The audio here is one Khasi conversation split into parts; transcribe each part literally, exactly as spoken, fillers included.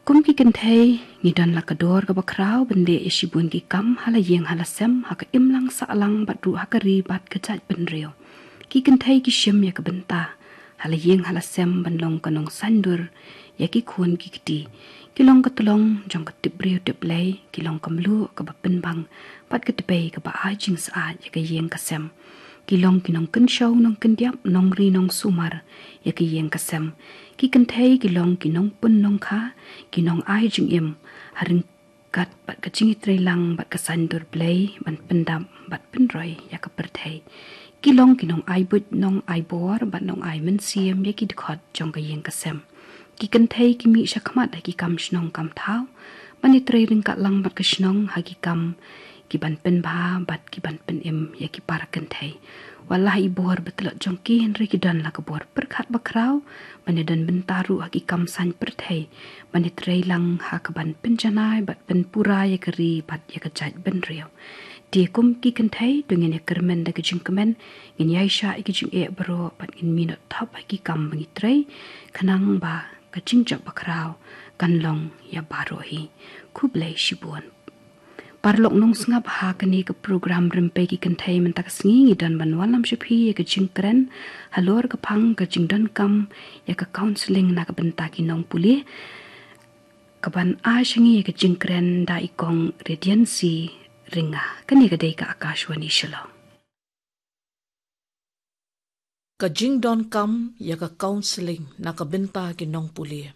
Kum ki kynthei, ngi don la ka dor kaba khraw ban leh ïa shibun ki kam ha la ïing ha la sem, ha ka imlang sahlang bad ruh ha ka ri bad ka jaitbynriew. Ki kynthei ki shim ïa ka bynta ha la ïing ha la sem ban long ka nongsaiñdur ïa ki khun ki kti. Ki long ka tyllong jong ka tipbriew tipblei, ki long ka mluh kaba pynbang bad ka tbei kaba ai jingsyaid ïa ka ïing ka sem. Ki long ki nongkynshew nongkyndiap, nongri nongsumar ïa ka ïing ka sem. Ki kynthei ki long ki nongpun nongkha, ki nongai jingim ha ryngkat bad ka jingïatreilang bad ka saiñdur Blei ban pyndap bad pynroi ïa ka pyrthei. Ki long ki nongai buit nongai bor bad nongai mynsiem ïa ki dkhot jong ka ïing ka sem. Ki kynthei ki mih shakhmat ha ki kam shnong kam thaw ban ïatrei ryngkat lang bad ka shnong ha ki kam ki ban pynbha bad ki ban pynim ïa ki para kynthei. Wat la ha i bor ba tlot jong ki, hynrei ki don la ka bor pyrkhat ba khraw ban ïadon bynta ruh ha ki kam saiñ pyrthei, ban ïatrei lang ha ka ban pynjanai bad pynpura ïa ka ri bad ïa ka jaitbynriew. Te kum ki kynthei, to ngin ïakyrmen da ka jingkmen, ngin ïaishah ïa ka jingeh baroh bad ngin minot thop ha ki kam ba ngi trei, khnang ba ka jingjop ba khraw kan long ïa baroh hi. Khublei shibun. Paralok nongsngap, ha kane ka program Rympei ki Kynthei mynta ka sngi, ngi don ban wallam sha phi ïa ka jingkren halor ka phang ka jingdonkam ïa ka counselling na ka bynta ki nongpule, ka ban ai sha ngi ïa ka jingkren da i Kong Radiancy Ringa. Kane ka dei ka Akashvani Shillong. Ka jingdonkam ïa ka counselling na ka bynta ki nongpule.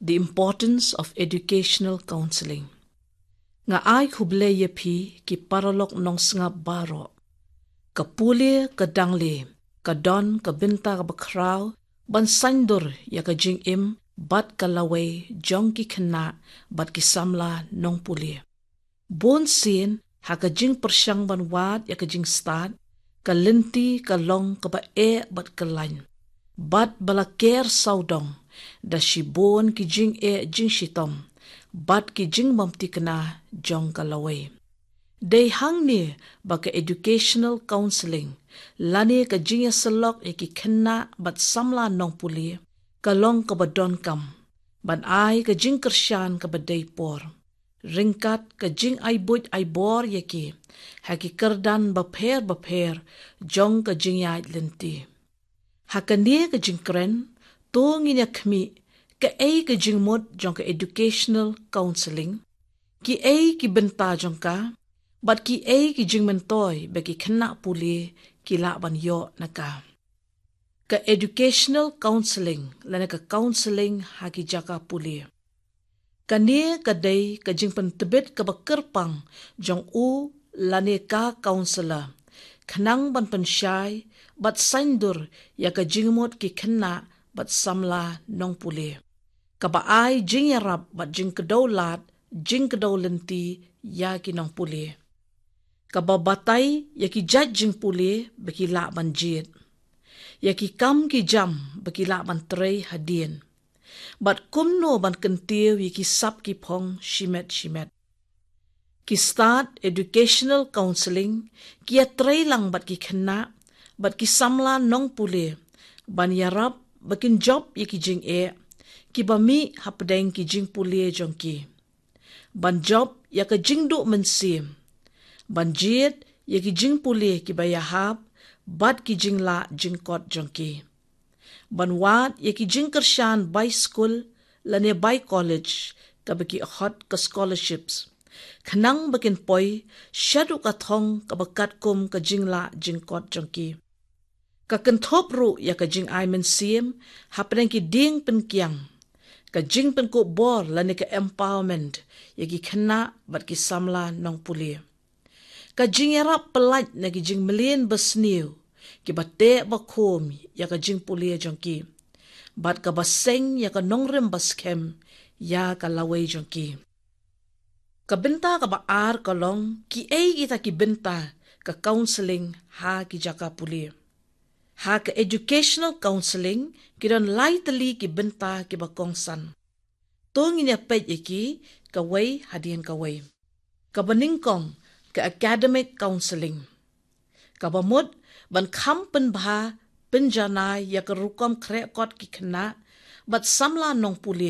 The importance of educational counselling. Nga ai khublei ïa phi ki paralok nongsngap baroh. Ka pule ka dangle, ka don ka bynta kaba khraw ban saiñdur ïa ka jingim bad ka lawei jong ki khynnah bad ki samla nongpule. Bun sien ha ka jingpyrshang ban wad ïa ka jingstad, ka lynti ka long kaba eh bad kyllain, bad ba la ker sawdong da shibun ki jingeh jingshitom bad ki jingbymthikna jong ka lawei. Dei hangne ba ka educational counselling lane ka jingïasyllok ïa ki khynnah bad samla nongpule ka long kaba donkam ban ai ka jingkyrshan kaba dei por, ryngkat ka jingai buit ai bor ïa ki ha ki kyrdan bapher bapher jong ka jingïaid lynti. Ha kane ka jingkren, to ngin ïa khmih kaei ka jingmut jong ka educational counselling, kiei ki bynta jong ka, bad kiei ki jingmyntoi ba ki khynnah pule ki lah ban ïoh na ka. Ka educational counselling lane ka counselling ha ki jaka pule. Kane ka dei ka jingpyntbit kaba kyrpang jong u lane ka counselor, khnang ban pynshai bad saiñdur ïa ka jingmut ki khynnah bad samla nongpule, kaba ai jingïarap bad jingkdew lad, jingkdew lynti ïa ki nongpule, kaba batai ïa ki jait jingpule ba ki lah ban jied, ïa ki kam ki jam ba ki lah ban trei hadien, bad kumno ban kyntiew ïa ki sap ki phong shimet shimet. Ki stad educational counselling ki ïatrei lang bad ki khynnah bad ki samla nongpule ban ïarap ba kin jop ïa ki jingeh kiba mih hapdeng ki jingpule jong ki, ban jop ïa ka jingduh mynsiem, ban jied ïa ki jingpule kiba ïahap bad ki jinglah jingkot jong ki, ban wad ïa ki jingkyrshan bai skul lane bai college kaba ki khot ka scholarships, khnang ba kin poi shaduh ka thong kaba katkum ka jinglah jingkot jong ki. Ka kynthup ruh ïa ka jingai mynsiem hapdeng ki dieng pynkiang, ka jingpynkup bor lane ka empowerment ïa ki khynnah bad ki samla nongpule. Ka jingïarap pyllait na ki jingmlien basniew kiba teh bakhum ïa ka jingpule jong ki, bad kaba seng ïa ka nongrim baskhem ïa ka lawei jong ki. Ka bynta kaba ar ka long kiei kita ki bynta ka counselling ha ki jaka pule. Ha ka educational counselling ki don lai tylli ki bynta kiba kongsan. To ngin ïa peit ïa ki kawei hadien kawei. Kaba nyngkong, ka academic counselling. Kaba mut ban kham pynbha pynjanai ïa ka rukom khreh kot ki khynnah bad samla nongpule